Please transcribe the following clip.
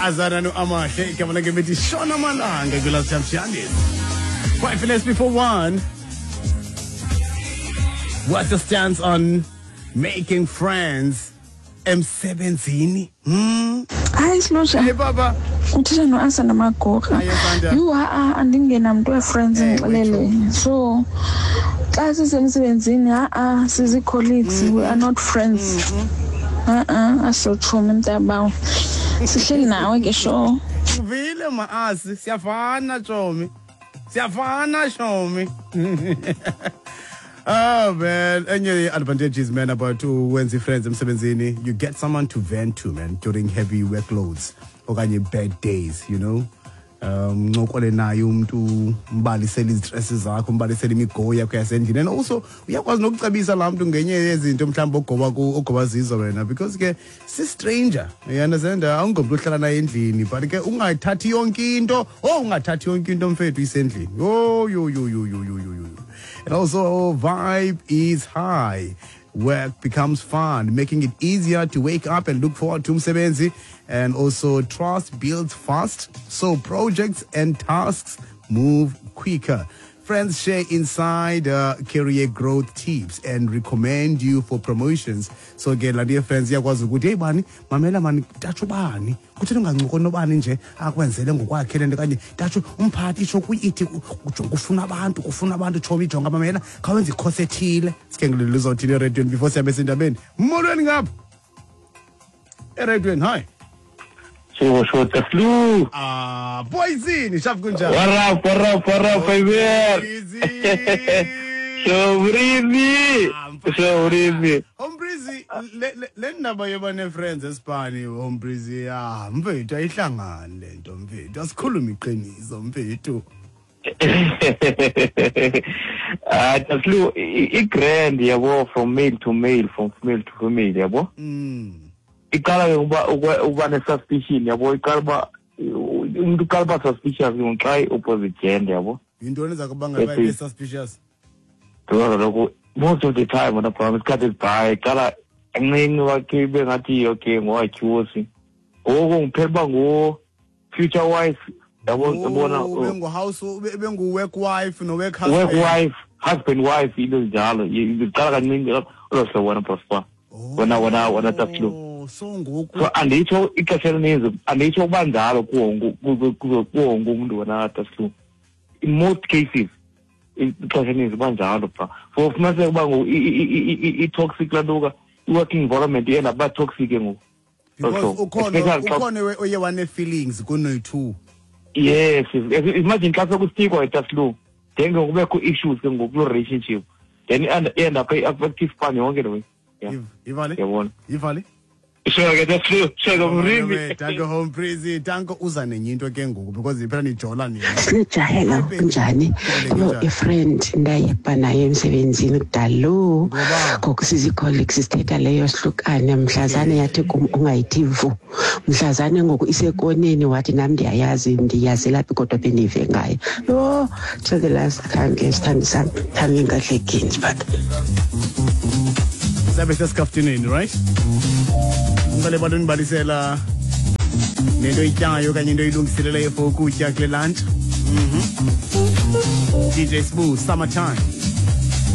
Azana no-Amahle, igama lakhe bethi Shona Malanga kula Champions. 1:05. What's your stance on making friends emsebenzini? Hayi, Silusha. Hey baba. Uthetha noAsanda Magorha. Hi, Asanda. Yhu, ha-a, andingenamntu wee-friends, ndixelele. So xa sisemsebenzini, ha-a, sizi-colleagues, we are not friends. Ha-a, asotshomi mntabawo. Sihleli nawe ke sho. Uvile maasi, siyafana tshomi. Siyafana shomi. Oh man, enye advantages, man, about wenza friends emsebenzini, you get someone to vent to, man, during heavy workloads okanye bad days. Ncokole naye umntu, umbalisele izistress zakho, umbalisele imigowo yakho yasendlini, and also uyakwazi nokucebisa laa mntu ngenye yezinto mhlawumbi ogoba ogoba zizo wena, because ke si-stranger, you understand? Awungomntu ohlala naye endlini, but ke ungathathi yonke into, oh, ungathathi yonke into mfethu isendlini. Oh, yo yo yo yo yo yo yo. And also vibe is high. Work becomes fun, making it easier to wake up and look forward to umsebenzi. And also trust builds fast, so projects and tasks move quicker. Friends share inside career growth tips and recommend you for promotions. So ke la dear friends iyakwazi ukuthi, hey bani, mamela mani, tatsho bani, kutheni ungancokoli nobani nje akwenzele ngokwakhe le nto, kanye tatsho umphathi itsho kuyithi kufuna abantu, kufuna abantu, tshomi, jonga, mamela, khawenze ikhosi ethile. Sikhe ngilelo uzothini erediyweni before sihambe esindabeni. Molweni ngapha erediyweni, hi. Sho sho Taslu. Ah, boyzini, shaf, kunjani? What up, what up, what up, baby? Easy. Showrizi. Showrizi. Hombrizi, le ndaba yoba ne-friends esipani, Hombrizi, ah, mfethu, ayihlangani le nto, mfethu. Asikhulume iqiniso, mfethu. Ah, Taslu, i-grand yabo, from male to male, from female to female yabo. Iqala ke uba ne-suspicion yabo, iqala uba umuntu uqala uba suspicious ke xa i-opposite gender yabo. Yintoni eza kubangela uba ibe suspicious? Because kaloku most of the time wena bra, isikhathi esibhayi iqala kancinci, wakhe ibe ngathi okay ngowatyhusi, ngoku ngiphela uba ngu-future wife yabo, yabona. Oh, bengu-house, bengu-work wife no-work husband. Work wife, husband, wife, into ezinjalo. Iqala kancinci olo hlobo wena prosper, wena Taslu. Oh, so ngoku So anditsho ixesha elininzi, anditsho ukuba njalo kuwo wonke umntu wena Taslu. In most cases ixesha elininzi kuba njalo bra, for ufumaniseka uba ngoku i-toxic laa nto ka i-working environment iyenda kuba toxic ke ngoku. Because ukhona Especially ukhona oye wane-feelings kunoyi-two. Yes. Imagine xa sekustikwa etaslu, then ke kubekho issues ke ngoku kuloo relationship, then i-end up i-affect ispan yonke le way. Yeah. Ivale. Yabona. Ivale. Sure ke Taslu, sure ke mrimi. Danko Hombrizi, danko. Uza nenye into ke ngoku because phela nijola nina. Sinejahela, kunjani? Yo, ifriend ndayeba nayo emsebenzini kudalo. Ngoba? Ngoku sizi-colleagues, sithetha leyo sihlukane mhlazane yathi kum ungayithi vu. Mhlazane ngoku isekoneni wathi nam ndiyayazi, ndiyazela phi kodwa bendive ngayo. Yho, till the last khange sithandi sam, khange ngahlekini but Sabe sesikaftineni, right? Ngicela abantu nibalisela nento oyityayo okanye into oyilungiseleleyo for ukutya kule lunch. DJ Sbu, Summertime.